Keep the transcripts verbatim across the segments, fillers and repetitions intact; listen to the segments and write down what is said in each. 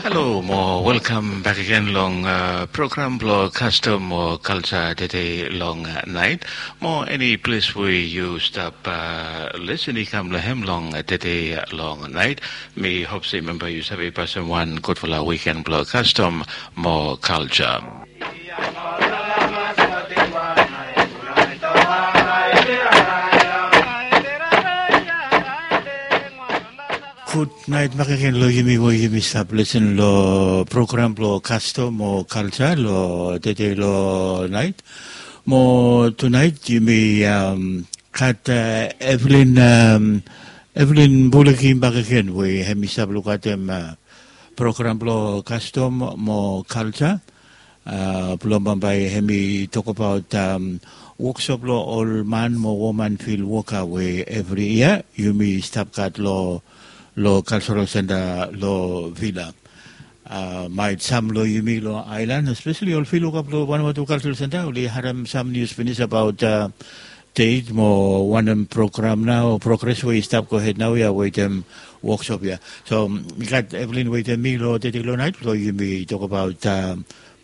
Halo mo welkam bek agen long program blong kastom o kalja tede long nait. Mo eni ples we yu stap lesen i kam long hem long tede long nait, mi hop se memba yu save pasim wan gudfala wiken blong kastom mo kalja. Gudnait bakegen long yumi we yumi stap lesen long program blong kastom o kalja long tede long nait. Mo tunait yumi gat Evelyn, Evelyn Buleki bakegen we hem i stap lukatem program blong kastom mo kalja. Blong bambae hem i tokbaot woksop blong ol man mo woman fil woka we evri yia yumi stap gat long kalsarol senta long Vila. Maet sam long yumi long aelan, espeseli ol fil woka blong Vanuatu Kalsarol Senta oli harem sam nius finis abaot deit mo wanem program nao, progres we i stap gohed naoia wetem woksop ya. So mi gat Evelyn wetem mi long tede long nait blong yumi tokbaot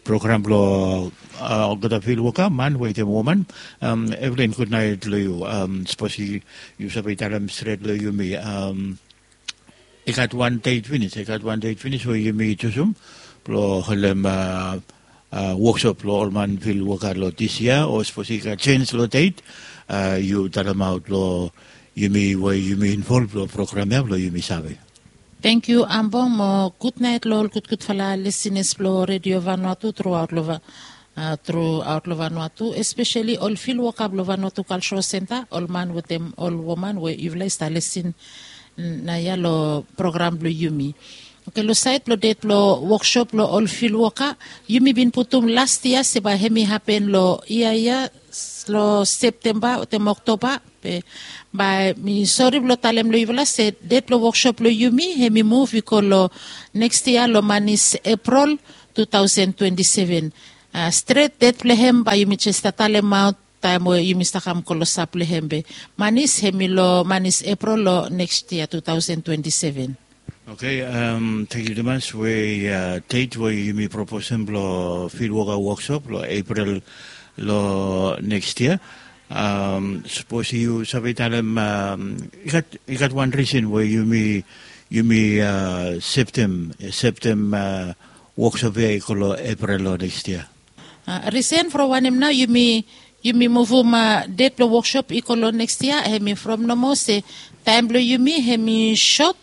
program blong olgeta fil woka, man wetem woman. Evelyn, gudnait long yu. Sapos yu save talem stret long yumi, i gat wan deit finis, i gat wan deit finis we yumi jusum blong holem woksop blong ol man fil woka long dis yia, o sapos i gat sens long deit, yu talemaot long yumi we yumi involv long program ya blong yumi save. Tangkiu Ambong, mo gudnait long ol gudgudfala lisinas blong Redio Vanuatu truaot long Vanuatu, espeseli ol fil woka blong Vanuatu Kalsarol Senta, ol man wetem ol woman we yufala i stap lisin naoia long program blong yumi. Oke, long sait blong deit blong woksop blong ol fil woka, yumi bin putum las yia se bae hem i hapen long yia ya long Septemba wetem Oktoba. Be bae mi sori blong talem long yufala se deit blong woksop blong yumi hem i muv i go long neks yia long manis Epril tu taosen twenti seven. Stret deit blong hem bae yumi jes stap talemaot taem we yumi stap kam klosap long hem, be manis hem i long manis Epril long neks yia tu taosen twenti seven. Oke, tangkiu tumas we deit we yumi proposem blong fil woka woksop long Epril long neks yia. Sapos yu save talem, i gat wan risen we yumi, yumi septem, septem woksop ya i go long Epril long neks yia. Risen from wanem nao yumi, yumi muvum deit blong woksop i go long neks yia, hem i from nomo se taem blong yumi hem i sot.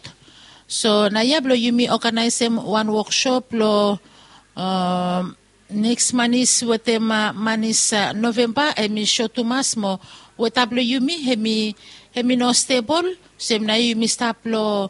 So naoia blong yumi oganaesem wan woksop long neks manis wetem manis Novemba hem i sot tumas, mo weta blong yumi hem i, hem i no stebol. Olsem naoia yumi stap long,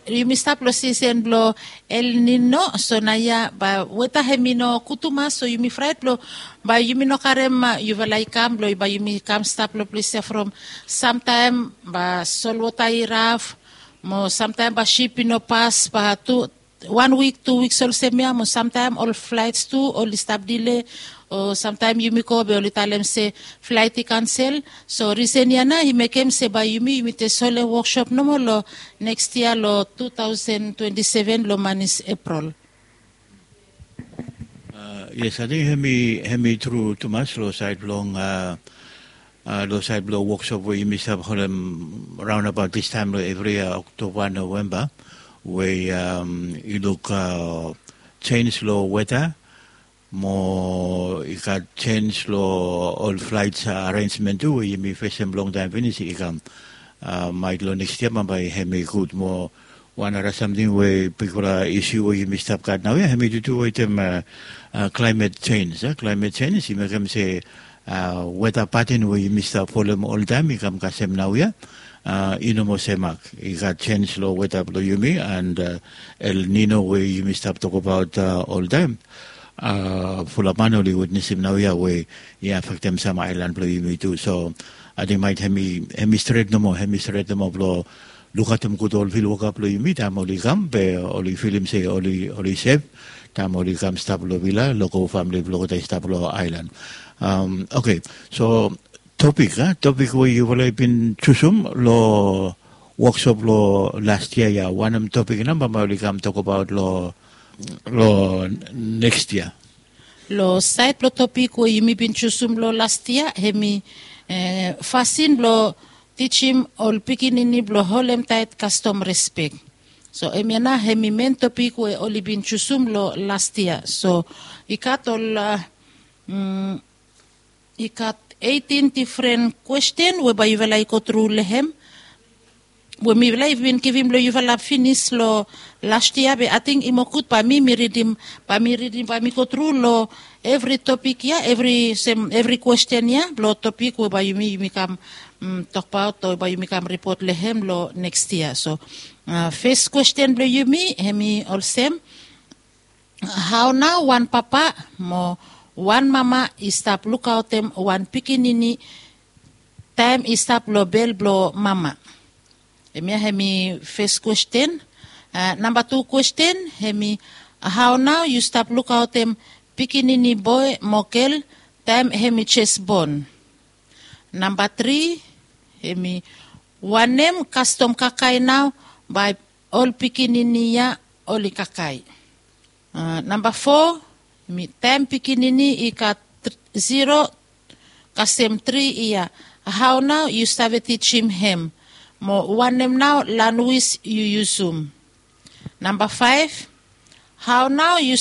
yumi stap long sisen blong El Nino. So naoia bae weta hem i no gud tumas, so yumi fraet blong bae yumi no karem yufala i kam blong bae yumi kam stap long ples ya from samtaem bae solwota i raf, mo samtaem bae sip i no pas, bae tu wan wik, tu wiks olsem ya, mo samtaem ol flaets tu oli stap dile, o samtaem yumi go be oli talem se flaet i kansel. So risen ya nao i mekem se bae yumi, yumi jes holem woksop nomo long neks yia long tu taosen twenti seven long manis Epril. Yes, ating hem i, hem i tru tumas long sait blong long sait blong woksop we yumi stap holem raonabaot distaem long evri yia Oktoba, Novemba, we i luk sens long weta, mo i gat sens long ol flaet arenjmen tu we yumi fesem longtaem finis i kam. Maet long neks yia bambae hem i gud. Mo wan nara samting we bigfala isu we yumi stap gat naoia hem i tutu wetem klaemet sens. Klaemet sens i mekem se weta paten we yumi stap folem oltaem i kam kasem naoia i no moa semak. I gat sens long weta blong yumi, and El Nino we yumi stap tokbaot oltaem, fulap man oli witnesem naoia we i afektem sam aelan blong yumi tu. So ating maet hem i, hem i stret nomo, hem i stret nomo blong lukaotem gud ol fil woka blong yumi taem oli kam, be oli filim se oli, oli sef taem oli kam stap long Vila, long famili blong olgeta i stap long aelan. Oke, so topik, topik we yufala i bin jusum long woksop long las yia ya, wanem topik nao bae oli kam tokbaot long long neks yia. Long sait blong topik we yumi bin jusum long las yia, hemi fasin blong tijim ol pikinini blong holem taet kastom respek. So hemia nao hemi men topik we oli bin jusum long las yia. So i gat ol i gat eitin difren kwesten we bae yufala i gotru long hem, we mifala i bin givim long yufala finis long las yia, be ating i moa gud bae mi mi ridim, bae mi ridim bae mi gotru long evri topik ya, evri sem evri kwesten ya blong topik we bae yumi yumi kam tokbaot o bae yumi kam ripot long hem long neks yia. So fes kwesten blong yumi hemi olsem, hao nao wan papa mo wan mama i stap lukaotem wan pikinini taem i stap long bel blong mama? Hemia hemi fes kwesten. Namba tu kwesten hemi, hao nao yu stap lukaotem pikinini boe mo gel taem hemi jes bon? Namba tri hemi, wanem kastom kakae nao bae ol pikinini ya oli kakae? Namba fo hemi, taem pikinini i gat ziro kasem tri yia, hao nao yu save tijim hem, mo wanem nao lanwis yu yusum? Namba faef, hao nao yu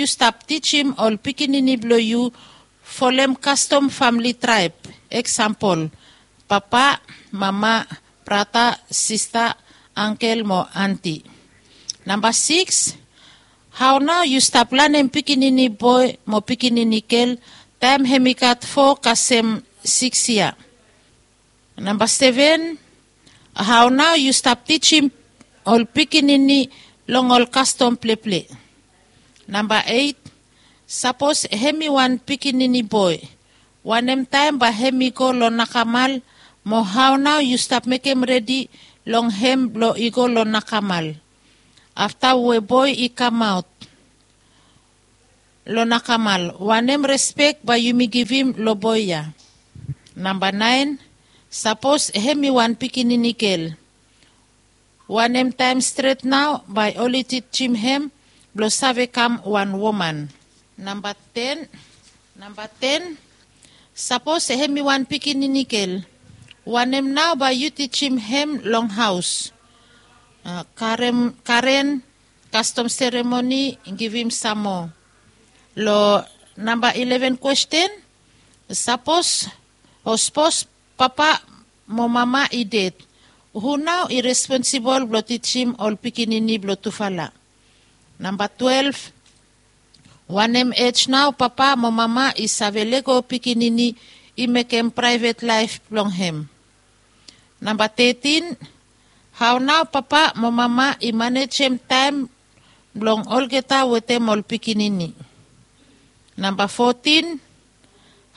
stap tijim ol pikinini blong yu folem kastom famle traeb? Eksampol, papa, mama, brata, sista, angkel mo anti. Namba sikis, hao nao yu stap lanem pikinini boe mo pikinini gel taem hemi gat fo kasem sikis yia? Namba seven, hao nao yu stap tijim ol pikinini long ol kastom pleple? Namba eit, sapos hemi wan pikinini boe, wanem taem bae hemi go long nakamal, mo hao nao yu stap mekem redi long hem blong i go long nakamal? Afta we boe i kamaot long nakamal, wanem respek bae yumi givim long boe ya? Namba naen, sapos hemi wan pikinini gel, wanem taem stret nao bae oli tijim hem blong save kam wan woman? Namba ten, namba ten, sapos hemi wan pikinini gel, wanem nao bae yu tijim hem long haos? Karen kastom seremoni, givim sam moa. Long namba ileven kwesten, sapos o sapos papa mo mama i ded, hu nao i responsibol blong tijim ol pikinini blong tufala? Namba twelef, wanem ej nao papa mo mama i save lego pikinini i mekem praevet laef blong hem? Namba tetin, hao nao papa mo mama i manejem taem blong olgeta wetem ol pikinini? Namba fotin,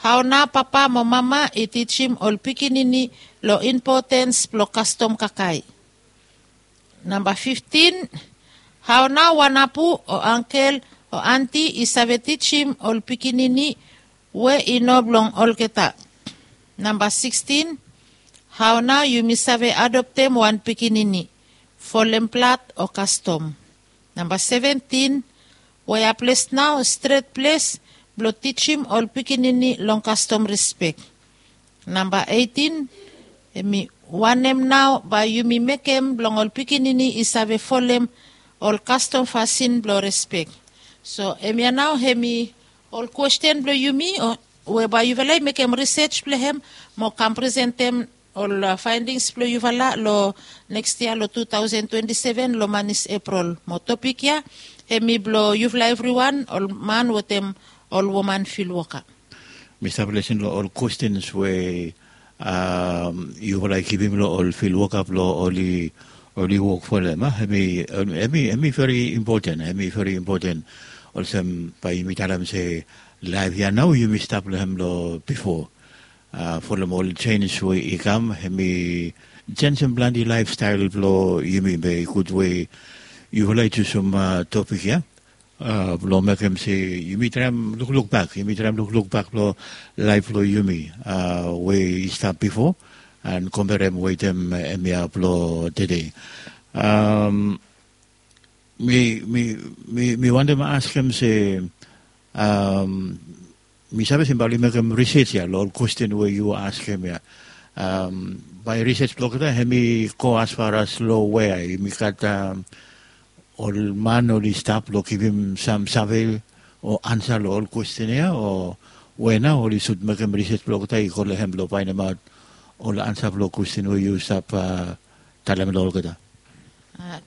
hao nao papa mo mama i tijim ol pikinini long impotens blong kastom kakae? Namba fiftin, hao nao wan apu o angkel o anti i save tijim ol pikinini we i no blong olgeta? Namba sikstin, hao nao yumi save adoptem wan pikinini folem blad o kastom? Namba seventin, we ya ples nao stret ples blong tijim ol pikinini long kastom respek? Namba eitin, hemi wanem nao bae yumi mekem blong ol pikinini i save folem ol kastom fasin blong respek? So hemia nao hemi ol kwesten blong yumi we bae yufala i mekem risej blong hem mo kam presentem ol faendings blong yufala long neks yia long tu taosen twenti seven long manis eprol. Mo topik ya hemi blong yufala evriwan, ol man wetem ol woman filwoka. Mi stap lesen long ol kwestens we yufala i givim long ol filwoka blong oli wok folem. Hemi veri impoten, hemi veri impoten. Olsem bae yumi talem se laef ya nao yumi stap long hem long bifo. Folem ol jenis we i kam, hemi jenjem plante laefstael blong yumi. Be i gud we yufala i jusum topik ya blong mekem se yumi traem lukluk bak, yumi traem lukluk bak long laef blong yumi we i stap bifo, an komperem wetem hemia blong tede. Mi mi mi mi wantem askem se, mi save se bae oli mekem risej ya long ol kwesten we yu askem ya. Bae risej blong olgeta hem i go asfaras long we ya yumi gat ol man oli stap long givim sam save o ansa long ol kwesten ya o we nao oli sud mekem risej blong olgeta i go long hem blong faenemaot ol ansa blong kwesten we yu stap talem long olgeta.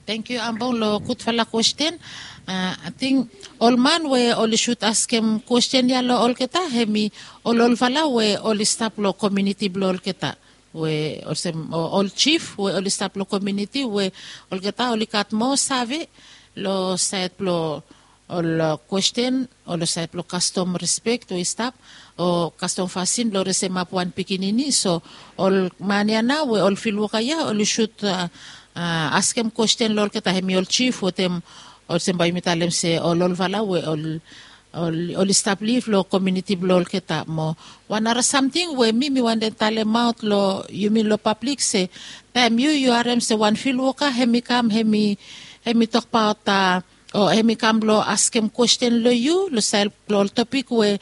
Tengkiu ambong long gudfala kwesten. Ating ol man we oli sud askem kwesten ya long olgeta hem i ol olfala we oli stap long komiuniti blong olgeta, we olsem ol jif we oli stap long komiuniti we olgeta oli gat moa save long saed blong ol kwesten o long saed blong kastom rispek we i stap o kastom fasin blong resemap wan pikinini. So ol man ya nao we ol filwoka ya oli sud askem kwesten long olgeta hem i ol jif wetem olsem bae yumi talem se ol olfala we oli stap liv long komiuniti blong olgeta. Mo wan nara samting we mi mi wantem talemaot long yumi long pablik se taem yu yu harem se wan filwoka hem i kam hem i tokbaot o hem i kam blong askem kwesten long yu long saed blong ol topik we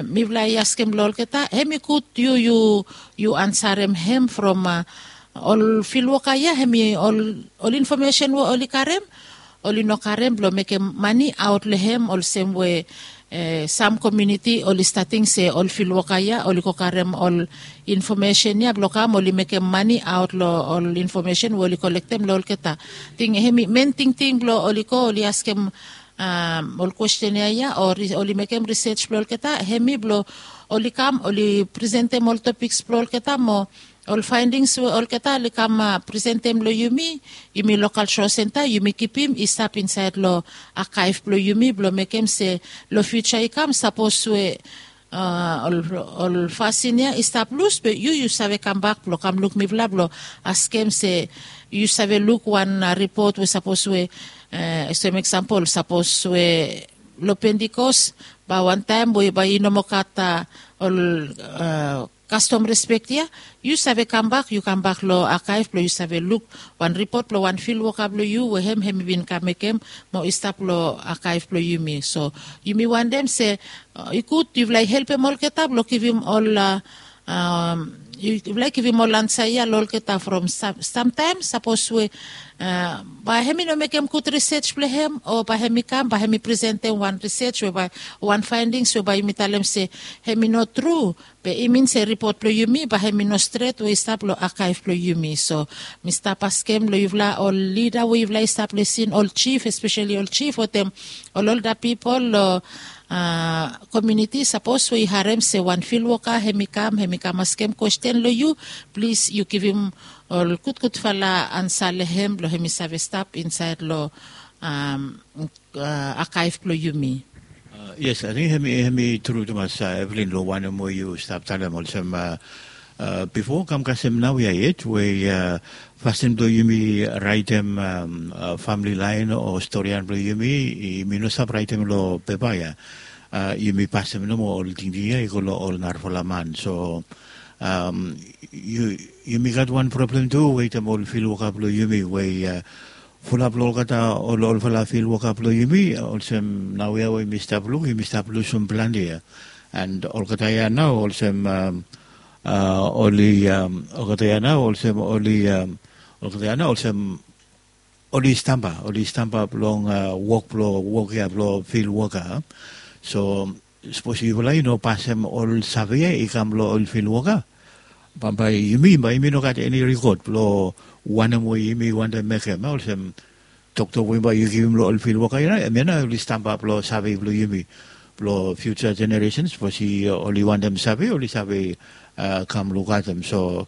mifala i askem long olgeta, hem i gud yu yu ansarem hem from ol filwoka ya hem i ol infomesen we oli karem oli no karem blong mekem mane aot long hem olsem we sam komiuniti oli stating se ol filwoka ya oli go karem ol infomesen ya blong kam oli mekem mane aot long ol infomesen we oli kolektem long olgeta. Ting hem i men tingting blong oli go oli askem ol kwesten ya ya o oli mekem risej blong olgeta hem i blong oli kam oli presentem ol topiks blong olgeta mo ol faendings we olgeta oli kam presentem long yumi, yumi lokal sosenta yumi kipim i stap insaed long akaef blong yumi blong mekem se long fiuja i kam sapos we ol fasin ya i stap lus be yu yu save kambak blong kam luk mifala blong askem se yu save luk wan ripot we sapos we olsem eksampol sapos we long pentikos bae wantaem we bae i no moa gat ol kastom rispek ya, yu save kambak yu kambak long akaef blong yu save luk wan ripot blong wan filwoka blong yu we hem hem i bin kam mekem mo i stap long akaef blong yumi. So yumi wantem se i gud yufala i helpem olgeta blong givim ol yufala i givim ol ansa ya long olgeta from samtaem sapos we bae hem i no mekem gud risej blong hem o bae hem i kam bae hem i presentem wan risej we bae wan faendings we bae yumi talem se hem i no tru be i min se ripot blong yumi bae hem i no stret we i stap long akaef blong yumi. So mi stap askem long yufala ol lida we yufala i stap lesin ol jif espeseli ol jif wetem ol olda pipol long komiuniti sapos we i harem se wan filwoka hem i kam hem i kam askem kwesten long yu, plis yu givim ol gudgudfala ansa long hem blong hem i save stap insaed long akaef blong yumi. Yes, ating hem i tru tumas evelin long wanem we yu stap talem olsem bifo kam kasem naoia yet we fasin blong yumi raetem famili laen o storian blong yumi, yumi no stap raetem long pepa ya. Yumi pasem nomo ol tingting ya i go long ol narafala man so yumi gat wan problem tu wetem ol filwoka blong yumi we fulap long olgeta ol olfala filwoka blong yumi olsem naoia we yumi stap luk yumi stap lusum plante ya. And olgeta ya nao olsem oli olgeta ya nao olsem oli olgeta ya nao olsem oli stamba oli stamba blong wok blong wok ya blong filwoka. So sapos yufala i no pasem ol save ya i kam long ol filwoka bambae yumi bae yumi no gat eni rikod blong wanem we yumi wantem mekem olsem toktok we bae yu givim long ol filwoka ya em ya nao oli stamba blong save blong yumi blong fiuja jeneresin sapos oli wantem save oli save kam lukatem so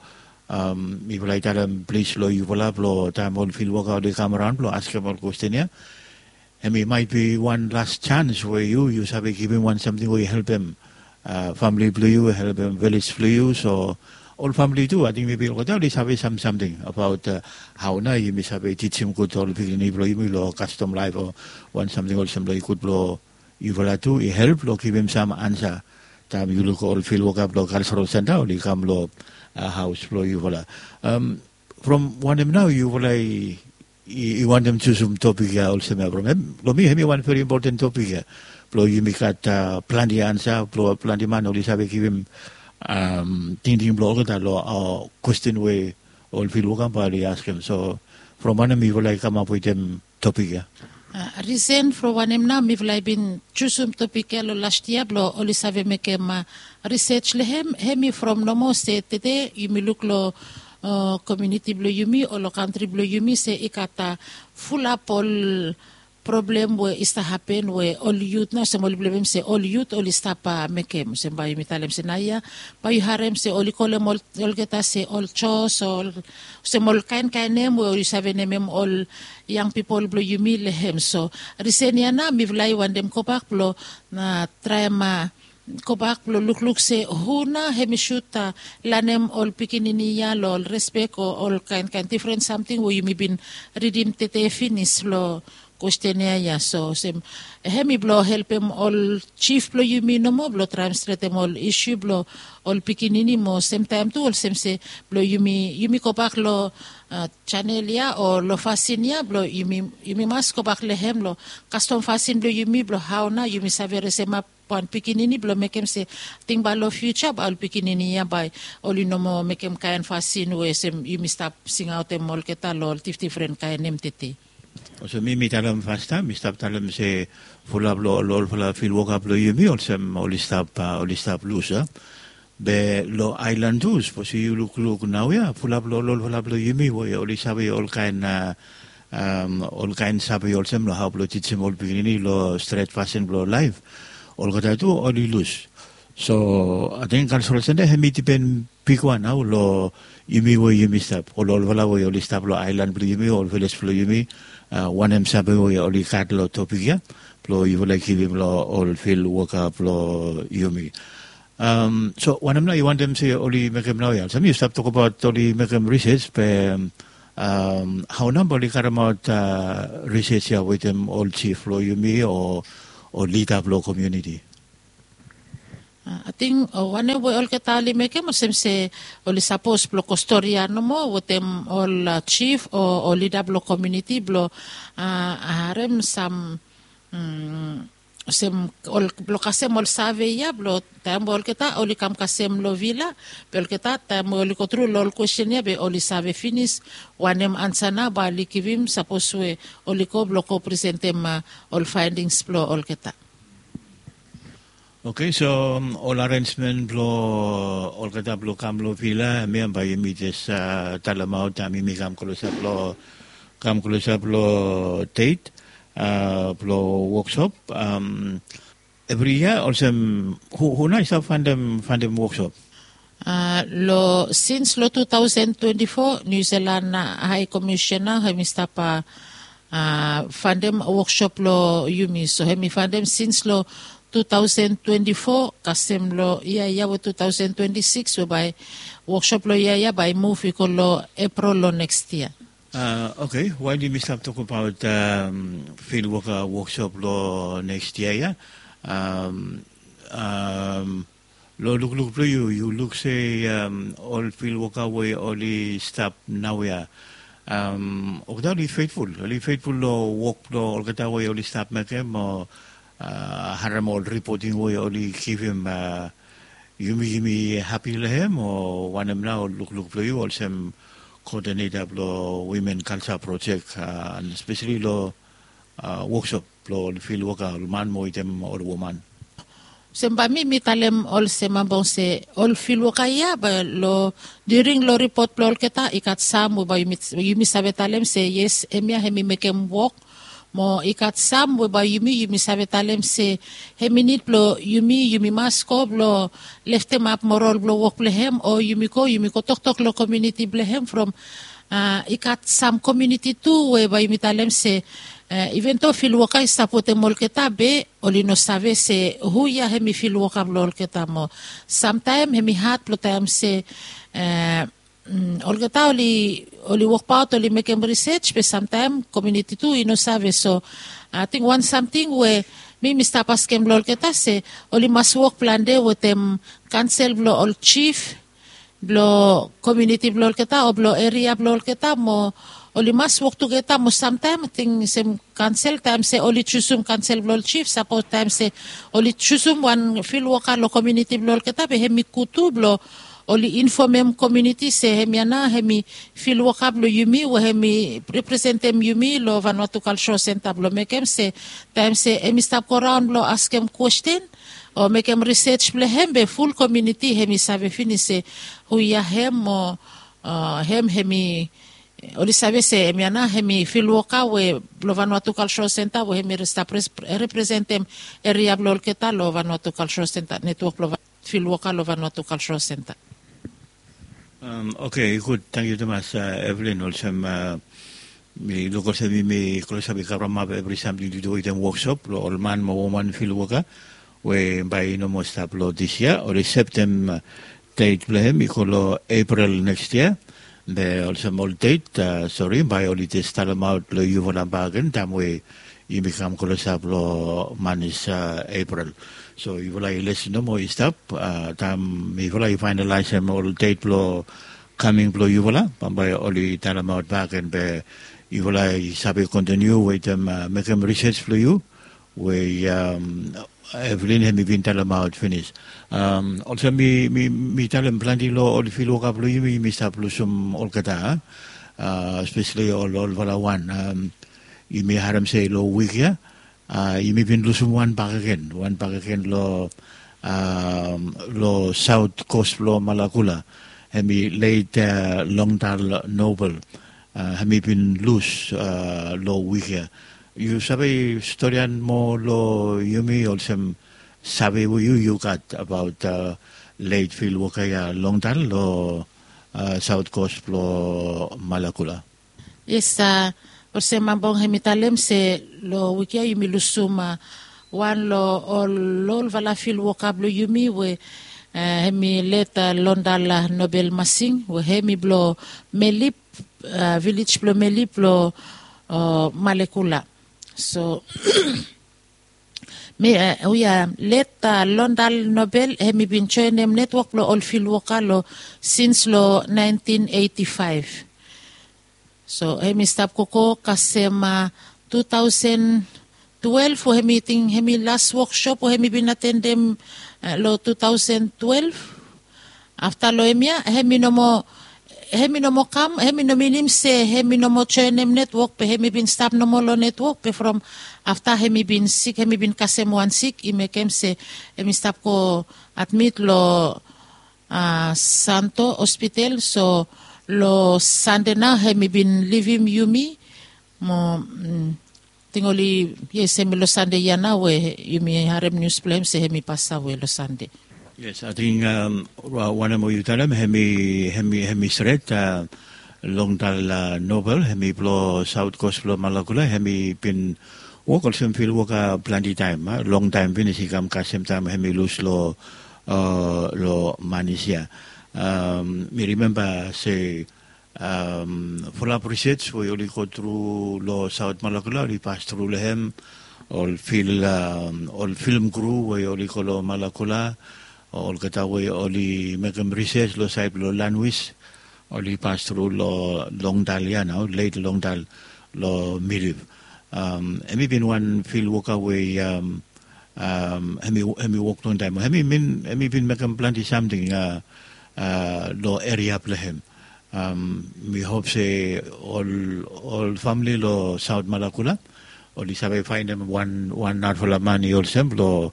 mifala i talem plis long yufala blong taem ol filwoka oli kam raon blong askem ol kwesten ya. Hem i maet bi wan las jans we yu yu save givim wan samting we i helpem famili blong yu helpem vilej blong yu so ol famili tu ating mebi olgeta oli save sam samting abaot hao nao yumi save tijim gud ol pikinini blong yumi long kastom laef o wan samting olsem long i gud blong yufala tu i help long givim sam ansa taem yu luk ol filwoka blong kalsarol senta oli kam long haos blong yufala. From wanem nao yufala i I wantem jusum topik ya olsem ya from em, long mi em i wan veri impoten topik ya. Blong yumi gat plante ansa blong plante man oli save givim tingting blong olgeta long kwesten we ol fil woka bae oli askem. So from wanem mifala i kamap wetem topik ya? Risen from wanem nao mifala i bin jusum topik ya long last yia blong oli save mekem risej long hem. Hem i from nomo se tede yumi luk long komiuniti blong yumi o long kantri blong yumi se i gat fulap ol problem we i stap hapen we ol yut nao olsem oli blem se ol yut oli stap mekem olsem bae yumi talem se naoia bae yu harem se oli kolem olgeta se ol jos o olsem ol kaenkaen nem we yu save nemem ol yang pipol blong yumi long hem. So risen ya nao mifala i wantem gobak blong traem gobak blong lukluk se hu nao hem i sud lanem ol pikinini ya long ol respek o ol kaenkaen difren samting we yumi bin ridim tede finis long kwesten ya ya. So olsem hem i blong helpem ol jif blong yumi nomo blong traem stretem ol isu blong ol pikinini mo semtaem tu olsem se blong yumi yumi gobak long janel ya o long fasin ya blong yumi mas gobak long hem long kastom fasin blong yumi blong hao nao yumi save resemap wan pikinini blong mekem se tingbae long fiuja bae ol pikinini ya bae oli no moa mekem kaen fasin we olsem yumi stap singaotem olgeta long ol difdifren kaen nem tete. Olsem mi mi talem fastaem mi stap talem se fulap long ol olfala filwoka blong yumi olsem oli stap oli stap lus a. Be long aelan tu sapos yu lukluk naoia fulap long ol olfala blong yumi we oli save olkaen olkaen save olsem long hao blong tijim ol pikinini long stret fasin blong laef. Olgeta tu oli lus. So ating kalsrol senta hem i dipen bigwan nao long yumi we yumi stap ol olfala we oli stap long aelan blong yumi ol viles blong yumi. Wanem save we oli gat long topik ya blong yufala i givim long ol filwoka blong yumi. So wanem nao yu wantem se oli mekem naoia olsem yu stap tokbaot oli mekem risej be hao nao bae oli karemaot risej ya wetem ol jif blong yumi o lida blong komiuniti? Ating wanem we olgeta oli mekem olsem se oli sapos blong go stori ya nomo wetem ol jif o lida blong komiuniti blong harem sam olsem blong kasem ol save ya blong taem we olgeta oli kam kasem long vila. Be olgeta taem we oli gotru long ol kwesten ya be oli save finis wanem ansa nao bae oli givim sapos we oli go blong go presentem ol faendings blong olgeta. Oke so ol arensmen blong olgeta blong kam long vila hemia bae yumi jes talemaot taem yumi kam klosap long kam klosap long deit blong woksop. Evri yia olsem hu nao i stap faendem woksop? Long sins long tu taosen twenti fo niu selan hae komisena hem i stap faendem woksop long yumi so hem i faendem sins long tu taosen twenti fo kasem long yia ya we tu taosen twenti sikis we bae woksop long yia ya bae i muv i go long eprol long neks yia. Oke wael yumi stap tokbaot filwoka woksop long neks yia ya, long lukluk blong yu yu luk se ol filwoka we oli stap naoia olgeta oli fetful oli fetful long wok blong olgeta we oli stap mekem o harem ol ripoting we oli givim? Yumi yumi hapi long hem o wanem nao lukluk blong yu olsem koodineta blong wimen kalsa projek spesali long woksop blong ol filwoka ol man mo wetem ol woman? Olsem bae mi mi talem olsem ambong se ol filwoka ya bae long diring long ripot blong olgeta i gat sam we bae yumi save talem se yes hemia hem i mekem wok. Mo i gat sam we bae yumi yumi save talem se hem i nid blong yumi yumi mas go blong leftemap moral blong wok blong hem o yumi go yumi go toktok long komiuniti blong hem from i gat sam komiuniti tu we bae yumi talem se iven do filwoka i stap wetem olgeta be oli no save se hu ya hem i filwoka blong olgeta mo samtaem hem i had blong taem se olgeta oli wokbaot oli mekem risej be samtaem komiuniti tu i no save so ating wan samting we mi mi stap askem long olgeta se oli mas wok plante wetem kansel blong ol jif blong komiuniti blong olgeta o blong eria blong olgeta mo oli mas wok tugeta mo samtaem ating sem kansel taem se oli jusum kansel blong ol jif sapos taem se oli jusum wan fil woka long komiuniti blong olgeta be hem i gutu blong oli infomem komiuniti se hem ya nao hem i fil woka blong yumi we hem i representem yumi long vanua tu kalsoro senta blong mekem se taem se hem i stap goraon blong askem kwesten o mekem risej blong hem be ful komiuniti hem i save finis se hu ya hem o hem hem i oli save se hem ya nao hem i fil woka we blong vanua tu kalsoro senta we hem i stap representem eria blong olgeta long vanua tu kalsoro senta netwok blong fil woka long vanua tu kalsoro senta. Oke, gud. Tangkiu tumas, Evelin. Olsem mi luk olsem yumi klosap i karamap evri samting tu du wetem woksop long ol man mo woman fil woka we bae i no moa stap long dis yia. Oli septem det blong hem i go long Epril neks yia. Be olsem ol det, sori, bae oli jes talemaot long yufala bak gen taem we yumi kam klosap long manis Epril. So yufala i les nomo i stap taem yufala i faenalaesem ol det blong kaming blong yufala, bambae oli talemaot bak gen be yufala i save kontiniu wetem mekem risej blong yu we Evelin hem i bin talemaot finis. Olsem mi talem plante long ol fil woka blong yumi yumi stap lusum olgeta, speseli ol olfala wan. Yumi harem se long wik ya yumi bin lusum wan bakegen, wan bakegen long long saot kos blong Malakula. Hem i leit Longdal Nobel. Hem i bin lus long wik ya. Yu save storian moa long yumi olsem save we yu yu gat abaot leit fil woka ya Longdal long saot kos blong Malakula? Yes, olsem Ambong hem i talem se long wik ya yumi lusum wan long ol olfala fil woka blong yumi we hem i leit Longdal Nobel Masing we hem i blong Melip, vilej blong Melip long Malekula. So mi, we ya leit Longdal Nobel hem i bin joenem netwok blong ol fil woka long sins long naentin eiti faef. So hem i stap gogo kasem tu taosen twelef we hem i ting hem i las woksop we hem i bin atendem long tu taosen twelef. Afta long hemia hem i no moa hem i no moa kam, hem i no minim se hem i no moa joenem netwok be hem i bin stap nomo long netwok be from afta hem i bin sik hem i bin kasem wan sik i mekem se hem i stap go admit long santo hospital. So long sande nao hem i bin livim yumi mo ting oli yes hem i long sande ya nao we yumi harem nius blong hem se hem i pasawe long sande. Yes, ating wanem we yu talem hem i hem i stret. Longdal Nobel hem i blong saot kos blong Malakula hem i bin wok olsem fil woka plante taem, longtaem finis i kam kasem taem hem i lus long long manis ya. Mi rimemba se fulap risej we oli go tru long saot Malakula oli pas tru long hem. Ol fil ol film kru we oli go long Malakula, olgeta we oli mekem risej long saed blong lanwis oli pas tru long Longdal ya nao, leit Longdal long Milip. Hem i bin wan fil woka we hem i wok longtaem hem i bin mekem plante samting long eria blong hem. Mi hop se ol ol famili long saot Malakula oli save faenem wan wan narafala man i olsem blong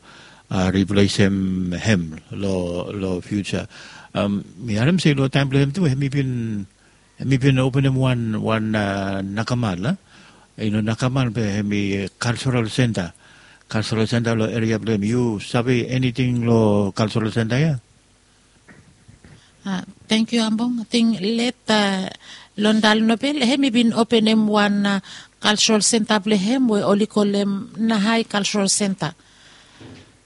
riplesem hem long fiuja. Mi harem se long taem blong hem tu hem i bin hem i bin openem wan wan nakamal a i no nakamal be hem i kalsoral senta. Kalsoral senta long eria blong hem yu save eniting long kalsoral senta ya? Tangkiu Ambong. Ating leta Londal Nobel hem i bin openem wan kalsoral senta blong hem we oli kolem Nahai Kalsoral Senta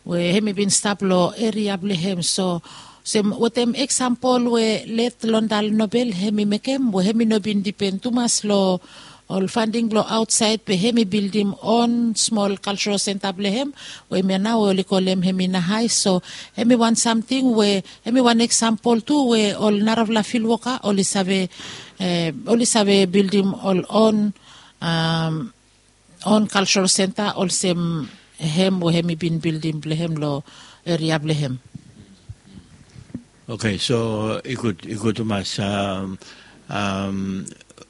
we hem i bin stap long eria blong hem. So sem wetem eksampol we let Londal Nobel hem i mekem we hem i no bin dipen tumas long ol fanding blong aotsaed be hem i bildim on smol kalsrol senta blong hem we hemia nao we oli kolem hem i nahai. So hem i wan samting we hem i wan eksampol tu we ol narafala filwoka oli save oli save bildim ol on on kalsrol senta olsem hem we hem i bin bildim blong hem long eria blong hem. Oke, so i gud i gud tumas.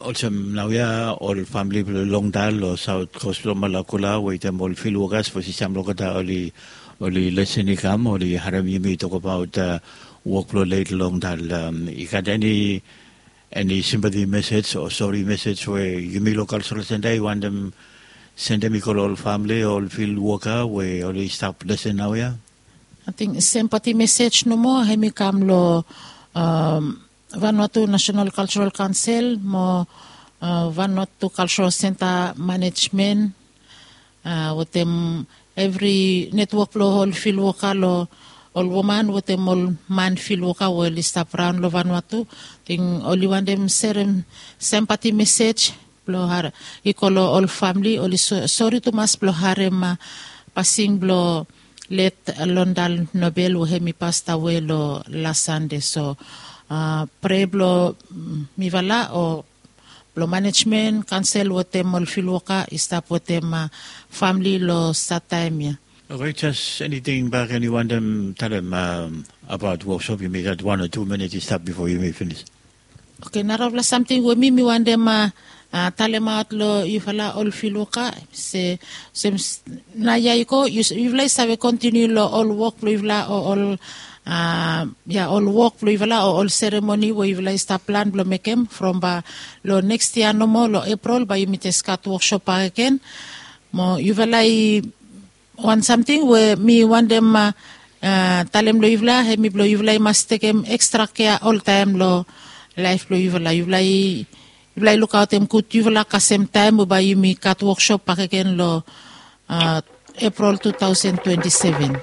Olsem naoia ol famili blong longdal long saut kos blong malakula wetem ol fil wokas fo sisam long olgeta oli lesen i kam oli harim yumi tokabaut wok blong leit longdal. I gat eni eni simpati mesej o sori mesej we yumi long kalsrol senta i wantem sendem i go long ol famili o ol fil woka we oli stap lesen naoia? Ating sempati mesej nomo hem i kam long vanwatu nasenal kalserol kaonsel mo vanwatu kalserol senta manejmen wetem evri netwok blong ol fil woka long ol woman wetem ol man fil woka we oli stap raon long vanwatu. Ating oli wantem serem sempati mesej blong hari i go long ol famili oli sori tumas blong harim pasing blong let londal nobel we hem i pastawe long las sande. So prea blong mifala o blong manejmen kaonsel wetem ol filwoka i stap wetem famili long sataem ya. Oke, jes eniting bak eni wantem talem abaot woksop yumi gat wan o tu minit i stap bifo yumi finis. Oke, narafala samting we mi mi wantem talemaot long yufala ol filwoka se olsem naoia i go yufala i save kontiniu long ol wok blong yufala o ol ya ol wok blong yufala o ol seremoni we yufala i stap plan blong mekem from ba long neks yia nomo long eprol ba yumi jes gat woksop bakegen. Mo yufala i wan samting we mi wantem talem long yufala hem i blong yufala i mas tekem ekstra kea oltaem long laef blong yufala yufala i lukaotem gud yufala kasem taem we bae yumi gat woksop bakegen long eprol tu taosen twenti seven.